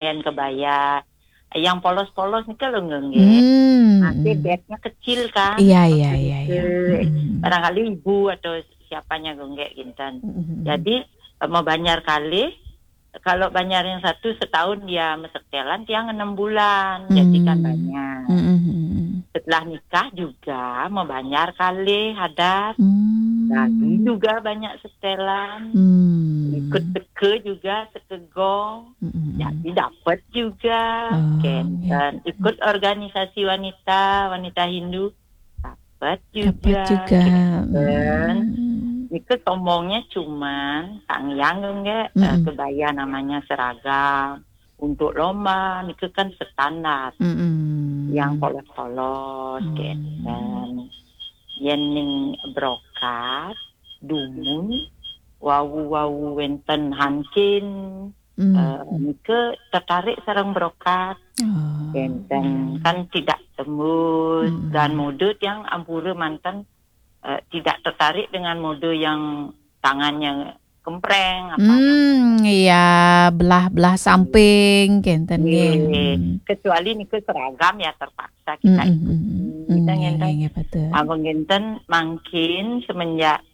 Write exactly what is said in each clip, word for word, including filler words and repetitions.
Yang kebaya, yang polos-polos niki lho, nggih. Hmm, Masih hmm. Bednya kecil kan. Iya, iya, iya, iya. Barangkali ibu atau siapanya nggih nggih kinten. Hmm. Jadi, eh, mau banjar kali, kalau banjar yang satu setahun dia mesetelan, tiang enam bulan. Jadi kan banyak. Hmm. Setelah nikah juga mau banjar kali hadat. Hmm. Lagi juga banyak setelan. Hmm. Ikut teke juga, teke gong. Hmm. Jadi dapat juga. Oh, kinten. Iya. Ikut organisasi wanita, wanita Hindu. Dapat juga. Dapat juga. Kinten. Hmm. Niki sombongnya cuman, tang yang nggih, eh, hmm, kebaya namanya seragam. Untuk lomba, niki kan standar. Hmm. Yang polos-polos, hmm, kinten. Yen ning brokat, dumun, wau-wau wenten hankin, hmm, eh, niki tertarik sareng brokat. Oh, kinten, iya. Kan tidak tembus, hmm, dan mode yang ampura manten, eh, tidak tertarik dengan mode yang tangannya kempreng, apa. Hmm, iya, belah-belah samping, kinten nggih. Nggih. Hmm. Kecuali niki seragam ya terpaksa kita, hmm, ikuti. Hmm, hmm, kita, iya, kinten. Iya, iya, betul. Abang kinten mangkin semenjak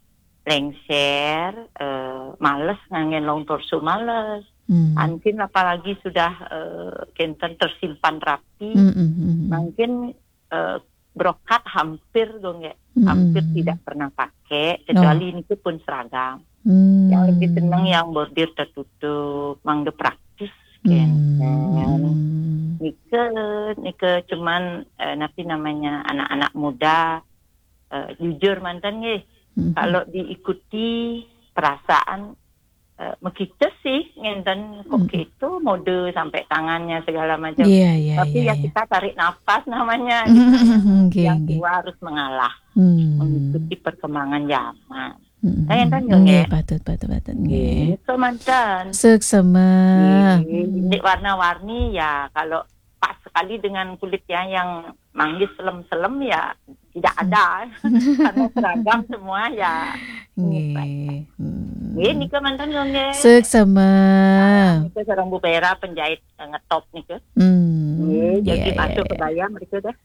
lengser, eh, males nganggen long torso, males. Hmm. Antin apalagi sudah, eh, kinten tersimpan rapi. Hmm, hmm, hmm, hmm. Mangkin, eh, brokat hampir dong ya, hmm, hampir tidak pernah pakai, kecuali, oh, niki pun seragam. Hmm. Yang lebih seneng yang bordir tertutup, mangda praktis, hmm, kinten. Hmm. Nike, nike cuman, eh, napi namanya, anak-anak muda, eh, jujur manten nggih. Hmm. Kalau diikuti perasaan, eh, mekite sih, ngenten kok, hmm, gitu, mode sampai tangannya segala macam. Iya, iya, tapi iya, ya iya. Kita tarik nafas namanya, gitu. Hmm, nggih, yang nggih. Tua harus mengalah, hmm, mengikuti perkembangan zaman. Hmm, kan ngenten nggih, nggih, nggih? Patut, patut, patut, nggih. Nggih, itu manten. Suksema. Nggih, ini warna-warni ya, kalau pas sekali dengan kulit ya yang manggis selem-selem ya tidak ada. Karena seragam semua ya. Nggih. Hmm. Nggih, nika manten nggih. Suksema. Nah, nika sareng Bu Vera penjahit, eh, ngetop nika. Hmm. Nggih, jadi iya, masuk iya, kebaya mereka dah.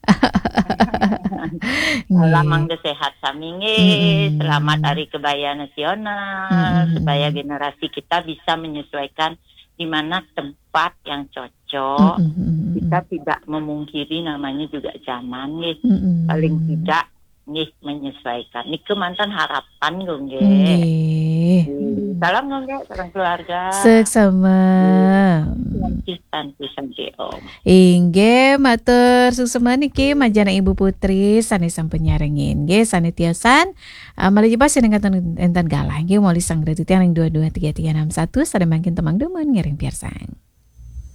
Nggih. Salam mangda sehat sami nggih. Hmm. Selamat Hari Kebaya Nasional, hmm, supaya generasi kita bisa menyesuaikan di mana tempat yang cocok. Mm-mm. Kita tidak memungkiri namanya juga zaman nggih. Mm-mm. Paling tidak nggih menyesuaikan. Nike manten harapan nggih. Nggih. Nggih. Salam nggih, salam keluarga. Suksema. Nggih. Santi, santi, santi, Om. Inggih, matur suksema niki manjana Ibu Putri sane sampun nyarengin. Nggih, sane tiosan, eh, malih jebos enten, enten galah nggih, malih sang titiang ring dua dua tiga tiga enam satu, sane mangkin temang dumun ngiring piarsang.